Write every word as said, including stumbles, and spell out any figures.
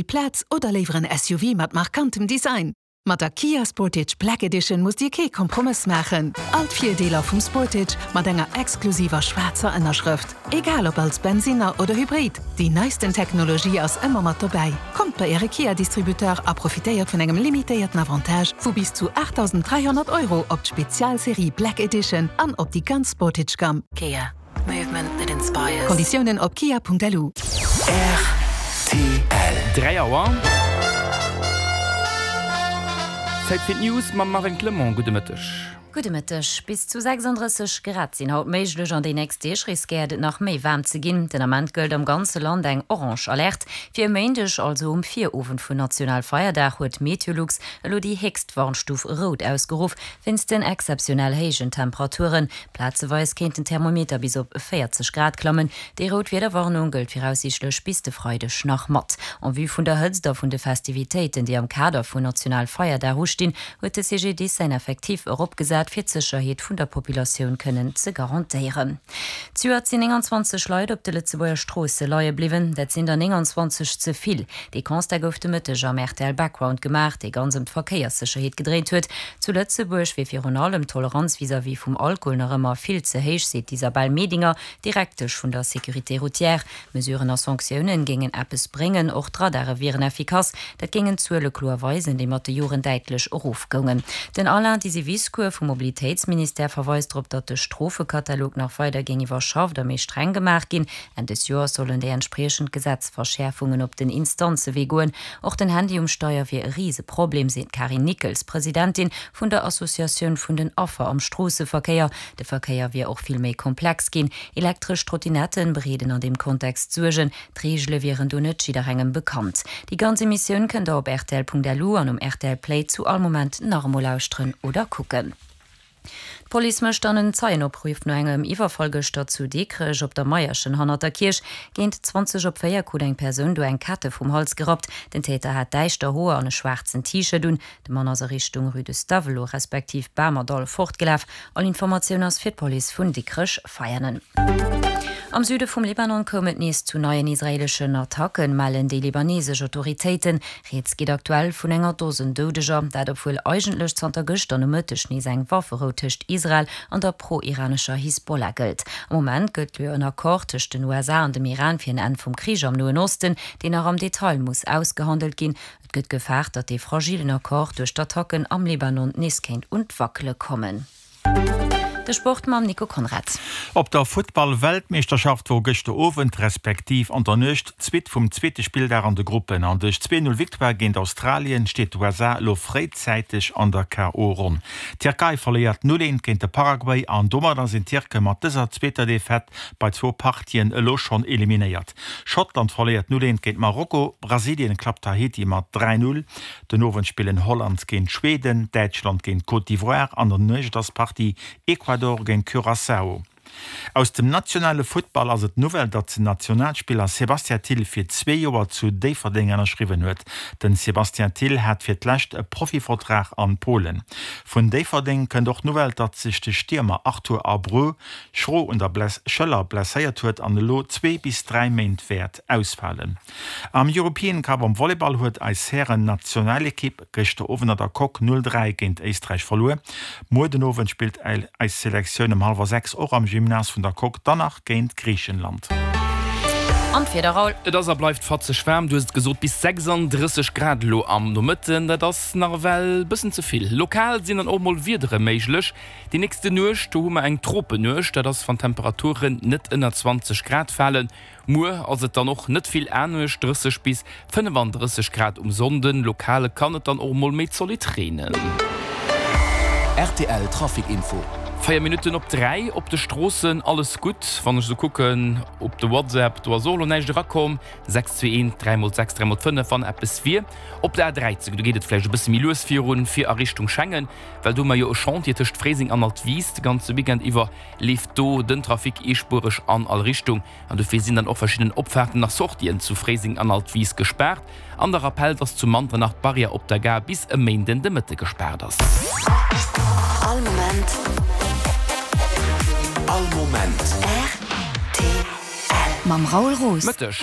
Plaz oder léiwer en S U V mat markantem Design? Mat der Kia Sportage Black Edition musst Dir kee Kompromëss maachen. All d'Virdeeler vum Sportage mat enger exklusiver schwaarzer Ënnerschrëft. Egal ob als Bensinner oder Hybrid, déi neisten Technologie ass ëmmer mat dobäi. Kommt bei Äre Kia-Distributeur a profitéiert vun engem limitéierten Avantage vu bis zu aachtdausend dräihonnert Euro op d'Spezialserie Black Edition an op déi ganz Sportage-Gamm. Kia. Movement that inspires. Konditiounen op kia Punkt L U. R T L. Dräi Auer. Zäit fir d'News mam Marvin Clement. Gudde Mëtteg. Gudde Mëtteg. Bis zu sechsanddrësseg Grad sinn haut méiglech, an déi nächst Deeg riskéiert et nach méi waarm ze ginn. Den Ament gëllt am ganze Land eng orange Alerte. Fir e Méindeg, also um Virowend vun Nationalfeierdag, huet Meteolux elo déi héchst Warnstuf rout ausgeruff, wéinst den exzeptionell héijen Temperaturen. Plazeweis kéint den Thermometer bis op véierzeg Grad klammen. Déi rout Wiederwarnung gëllt viraussiichtlech bis de Freideg nach mat. En vue vun der Hëtzt a vun de Festivitéiten, déi am Kader vun Nationalfeierdag ustinn, huet de C G D I S säin Effektiv eropgesat, fir d'Sécherheet vun der Populatioun kënnen ze garantéieren. Zejoert sinn nénganzwanzeg Leit op de Lëtzebuerger Stroosse leie bliwwen, dat sinn der nénganzwanzeg ze vill. Dee Constat gouf de Mëtteg am R T L Background gemaach, dee ganz ëm d'Verkéierssécherheet gedréint huet. Zu Lëtzebuerg wier virun allem d'Toleranz vis-à-vis vum Alkohol nach ëmmer vill ze héich, seet d'Isabelle Medinger, Direktesch vun der Sécurité routière. Mesuren a Sanktiounen géingen eppes bréngen, och d'Radare wieren effikass. Dat géingen d'Zuele kloer weisen, déi mat de Joren däitlech erofgoungen. Den Alain Disiviscour vum Mobilitéitsministère verweist drop, datt de Strofekatalog nach weider géing iwwerschafft a méi streng gemaach ginn. Enn des Joers sollen déi entspriechend Gesetzverschäerfungen op den Instanzewee goen. Och den Handy um Steier wier e Riseproblem, seet d'Karin Nickels, Presidentin vun der Associatioun vun den Affer am Stroosseverkéier. De Verkéier wier och vill méi komplex ginn. Elektresch Trottinetten bereeden an deem Kontext Suergen, d'Reegele wieren do net jidderengem bekannt. Déi ganz Emissioun kënnt der op R T L Punkt L U an um R T L Play zu all Moment nach emol lauschteren oder kucken. D'Police mécht dann en Zeienopruff no engem Iwwerfall gëschter zu Dikrech op der Meierchen hannert der Kierch. Géint zwanzeg op véier krut eng Persoun do eng Kette vum Hals gerappt. Den Täter hat däischter Hoer an e schwaarzen T-Shirt un. De Mann ass a Richtung Rue de Stavelot respektiv Bamerdall fortgelaf. All Informatioun ass fir d'Police vun Dikrech Veianen. Am Süde vum Libanon koum et nees zu neien israeeleschen Attacken, mellen déi libanesesch Autoritéiten. Rieds geet aktuell vun enger Dosen Doudeger, dat obwuel eigentlech zanter gëschter Nomëtteg nees eng Wafferou tëscht Israel an der pro-iranescher Hisbollah gëllt. Am Moment gëllt jo en Accord tëscht den U S A an dem Iran fir en Enn vum Krich am Noen Osten, deen nach am Detail muss ausgehandelt ginn. Et gëtt gefaart, datt dee fragilen Accord duerch d'Attacken am Libanon nees kéint un d'Wackele kommen. De Sport mam Nico Konrad. Op der Futtball-Weltmeeschterschaft wor gëschter Owend respektiv an der Nuecht d'Suite vum zweete Spilldag an de Gruppen, an duerch zwee null Victoire géint Australien steet d'U S A lo fréizäiteg an der K O. Ronn. D'Tierkei verléiert null eent géint de Paraguay an domadder sinn d'Tierke mat dëser zweeter Defaite bei zwou Partien elo schonn eliminéiert. Schottland verléiert null eent géint Marokko, Brasilien klappt Haiti mat dräi null. Den Owend spillen Holland géint Schweden, Däitschland géint Côte d'Ivoire, an der Nuecht ass d'Partie Ecuador géint Curaçao. Aus dem nationale Futtball ass et d'Nouvelle, datt den Nationalspiller Sébastien Thill fir zwee Joer zu Déifferdeng ënnerschriwwen huet. Den Sébastien Thill hat fir d'lescht e Profivertrag an Polen. Vun Déifferdeng kënnt och d'Nouvelle, datt sech de Stiermer Arthur Abreu schro un der Bless Schëller blesséiert huet an elo zwee bis dräi Méint wäert ausfalen. Am European Cup am Volleyball huet eis Hären-Nationalekipp gëschter Owend an der Coque null dräi géint Éisträich verluer. Muer den Owend spillt eis Selektioun um hallwer sechs och am Gymnase vun der Coque dann nach géint Griichenland. An d'Wieder, Raoul. Et ass a bleift fatzeg waarm, du hues et gesot, bis sechsanddrësseg Grad elo am Nomëtten, dat ass nach ewell bëssen ze vill. Lokal sinn dann och mol Wiedere méiglech. Déi nächste Nuecht, do hu mer eng Tropenuecht, dat ass wann d'Temperaturen net ënner zwanzeg Grad falen. Muer ass et dann och net vill anescht, drësseg bis fënnefandrësseg Grad um Sonnden, lokal kann et dann och mol méi zolidd reenen. R T L Trafic Info. Véier Minutten op dräi. Op de Stroossen alles gutt, wann ech esou kucken op de WhatsApp, do ass och elo näischt erakomm. sechs zwee eent dräi mol sechs dräi mol fënnef wann eppes wier. Op der A dräizéng, do geet et vläicht e bësse méi lues virun, fir a Richtung Schengen, well do hu mer jo e Chantier tëscht Fréiseng an Altwis. De ganze Weekend iwwer leeft do den Trafic eespuereg an all Richtung an dofir sinn dann och verschidden Opfaarten a Sortien zu Fréiseng an Altwis gespaart. An de Rappell, dass zu Manternach d'Barrière op der Gare bis e Méinden de Mëtte gespaart ass. All Moment. All Moment. R T L. Mam Raoul Roos. Mëtteg.